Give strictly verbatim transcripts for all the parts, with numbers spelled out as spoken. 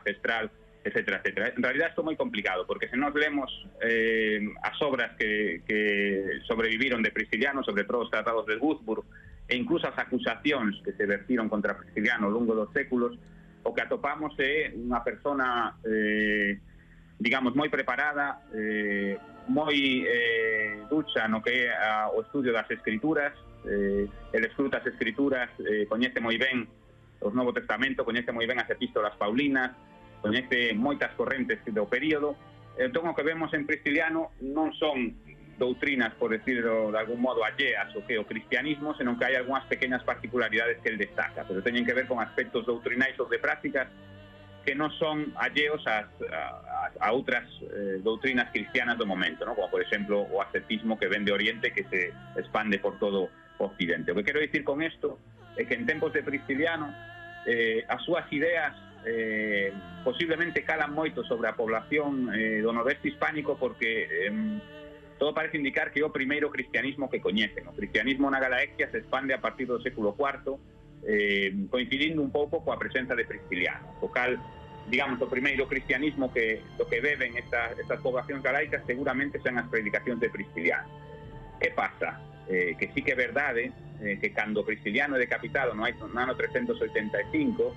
ancestral, etcétera, etcétera. En realidad isto é moi complicado, porque se nos lemos eh, as obras que, que sobreviviron de Prisciliano, sobre todo os tratados de Würzburg, e incluso as acusacións que se vertiron contra Prisciliano ao longo dos séculos, o que atopamos é unha persona, eh, digamos, moi preparada, eh, moi eh, ducha no que é a, o estudio das escrituras. Eh, el escruta as escrituras, eh, coñece moi ben os Novo Testamento, coñece moi ben as epístolas paulinas, coñece moitas correntes do período. Entón, o que vemos en Prisciliano non son doutrinas, por decirlo de algún modo, alleas o que o cristianismo, senón que hai algunhas pequenas particularidades que el destaca, pero teñen que ver con aspectos doutrinais ou de prácticas que non son alleos a, a, a outras eh, doutrinas cristianas do momento, ¿no? Como, por exemplo, o ascetismo que ven de Oriente, que se expande por todo o Occidente. O que quero dicir con isto é que en tempos de Prisciliano eh, as súas ideas eh, posiblemente calan moito sobre a población eh, do noroeste hispánico, porque eh, todo parece indicar que é o primeiro cristianismo que coñecen. O cristianismo na Galaecia se expande a partir do século cuarto, eh, coincidindo un pouco coa presenza de Prisciliano. O cal, digamos, o primeiro cristianismo que do que beben esta, estas poblacións galaicas seguramente son as predicacións de Prisciliano. Que pasa? Eh, que sí que é verdade eh, que cando Prisciliano é decapitado no ano trescentos oitenta e cinco,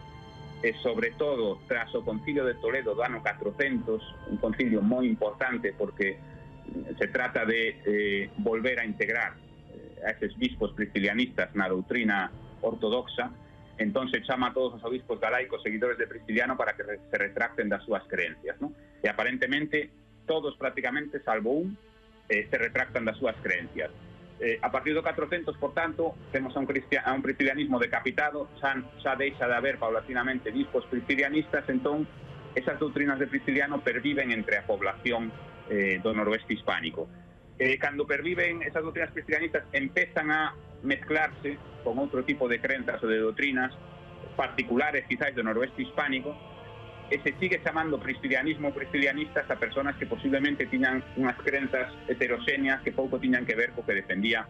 e sobre todo tras o concilio de Toledo do ano catrocentos, un concilio moi importante porque se trata de eh, volver a integrar eh, a eses bispos priscilianistas na doutrina ortodoxa. Entón se chama a todos os obispos galaicos seguidores de Prisciliano para que se retracten das súas creencias, ¿no? E aparentemente todos prácticamente, salvo un, eh, se retractan das súas creencias. Eh, a partir do catrocentos, por tanto, temos a un, a un priscilianismo decapitado, xa, xa deixa de haber paulatinamente bispos priscilianistas. Entón esas doutrinas de Prisciliano perviven entre a población eh, do noroeste hispánico. Eh, cando perviven esas doutrinas priscilianistas, empezan a mezclarse con outro tipo de crenzas ou de doutrinas particulares quizás do noroeste hispánico, e se sigue chamando priscilianismo ou priscilianistas a personas que posiblemente tiñan unhas crenzas heteroxéneas que pouco tiñan que ver co que defendía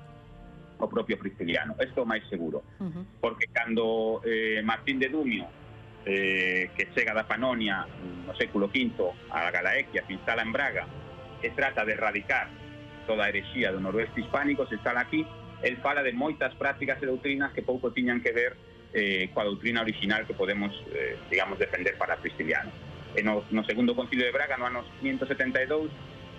o propio Prisciliano. Isto é máis seguro, uh-huh. porque cando eh, Martín de Dumio, eh, que chega da Panonia no século quinto a Galaecia, se instala en Braga e trata de erradicar toda a herexía do noroeste hispánico, se instala aquí. El fala de moitas prácticas e doutrinas que pouco tiñan que ver eh, coa doutrina original que podemos, eh, digamos, defender para Prisciliano. E no, no segundo concilio de Braga, no ano quinhentos setenta e dous,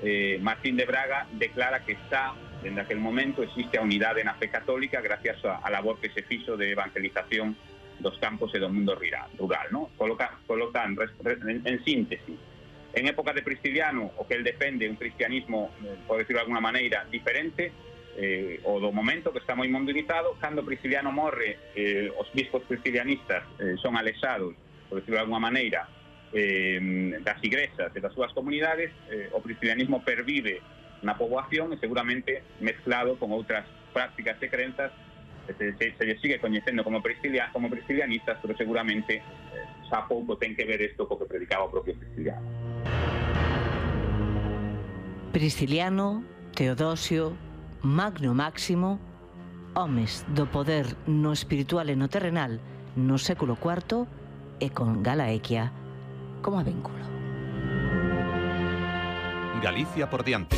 eh, Martín de Braga declara que está, dende aquel momento, existe a unidade na fe católica gracias a, a labor que se fixo de evangelización dos campos e do mundo rural, rural, ¿no? Coloca, colocan, en, en síntese, en época de Prisciliano, o que el defende un cristianismo, eh, por decirlo de alguna maneira, diferente, Eh, o do momento que está moi mundializado. Cando Prisciliano morre, eh, os bispos priscilianistas eh, son alexados, por decirlo de alguna maneira, eh, das igrexas e das súas comunidades. Eh, o priscilianismo pervive na poboación e seguramente mezclado con outras prácticas e crenzas. Se, se, se lle sigue coñecendo como, priscilia, como priscilianistas, pero seguramente eh, xa pouco ten que ver isto co que predicaba o propio Prisciliano. Prisciliano, Teodosio, Magno Máximo, homes do poder no espiritual e no terrenal no século cuarto e con Galaecia como vínculo. Galicia por diante.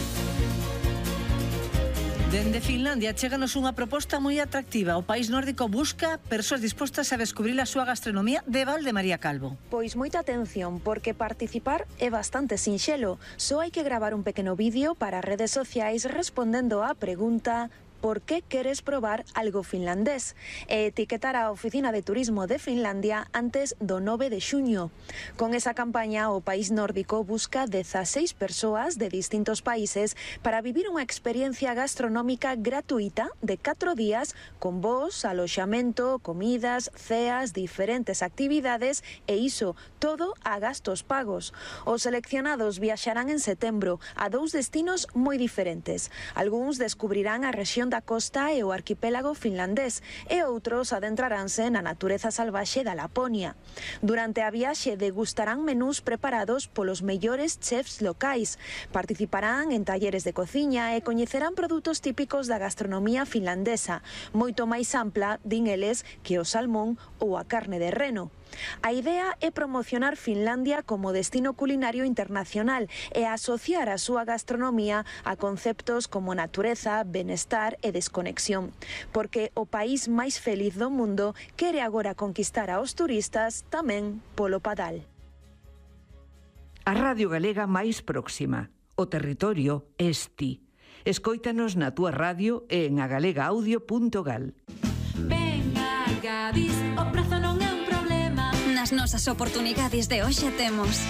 Dende Finlandia chéganos unha proposta moi atractiva. O país nórdico busca persoas dispostas a descubrir a súa gastronomía de Val de María Calvo. Pois moita atención, porque participar é bastante sinxelo. Só hai que gravar un pequeno vídeo para redes sociais respondendo á pregunta: ¿por qué queres probar algo finlandés? E etiquetar a Oficina de Turismo de Finlandia antes do nove de xuño. Con esa campaña, o país nórdico busca dezaseis persoas de distintos países para vivir unha experiencia gastronómica gratuita de catro días con voos, aloxamento, comidas, ceas, diferentes actividades e iso todo a gastos pagos. Os seleccionados viaxarán en setembro a dous destinos moi diferentes. Algúns descubrirán a rexión da costa e o arquipélago finlandés e outros adentraranse na natureza salvaxe da Laponia. Durante a viaxe degustarán menús preparados polos mellores chefs locais, participarán en talleres de cociña e coñecerán produtos típicos da gastronomía finlandesa, moito máis ampla, din eles, que o salmón ou a carne de reno. A idea é promocionar Finlandia como destino culinario internacional e asociar a súa gastronomía a conceptos como natureza, benestar e desconexión, porque o país máis feliz do mundo quere agora conquistar aos turistas tamén polo padal. A Radio Galega máis próxima. O territorio es ti. Escóitanos na túa radio e en agalegaudio punto gal. Venga, Gadis, o prazo non é un problema. Nas nosas oportunidades de hoxe temos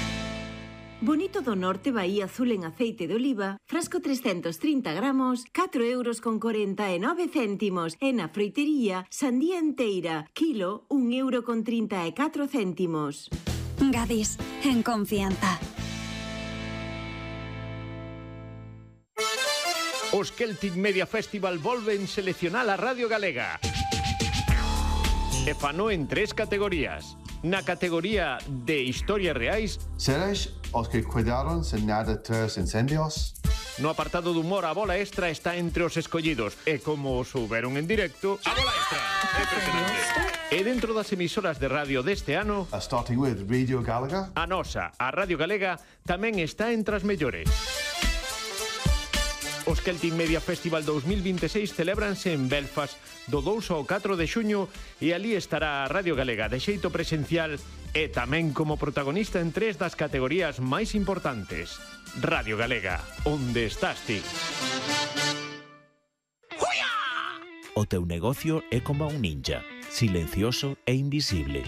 Bonito do Norte Bahía Azul en aceite de oliva, frasco trescentos trinta gramos, catro euros con corenta e nove céntimos. E na froitería, sandía enteira, kilo, un euro con trinta e catro céntimos. Gadis, en confianza. Os Celtic Media Festival volven seleccionar a Radio Galega. E fano en tres categorías. Na categoría de historias reais, seres os que cuidaron sen nada tres incendios. No apartado de humor, a bola extra está entre os escollidos. E como souberon en directo, a bola extra é impresionante. E dentro das emisoras de radio deste ano, uh, starting with Radio Galega, a nosa, a Radio Galega, tamén está entre as mellores. Os Celtic Media Festival dos mil vinte e seis celébranse en Belfast do dous ao catro de xuño e ali estará a Radio Galega de xeito presencial e tamén como protagonista en tres das categorías máis importantes. Radio Galega, onde estás ti? O teu negocio é como un ninja, silencioso e invisible.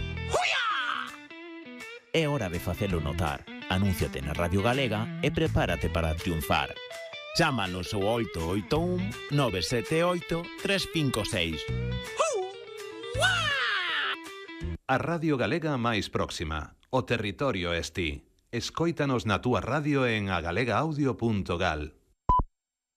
É hora de facelo notar. Anúnciate na Radio Galega e prepárate para triunfar. Chámanos ao oito oito un, nove sete oito, tres cinco seis. A Radio Galega máis próxima. O territorio es ti. Escóitanos na túa radio en agalegaudio punto gal.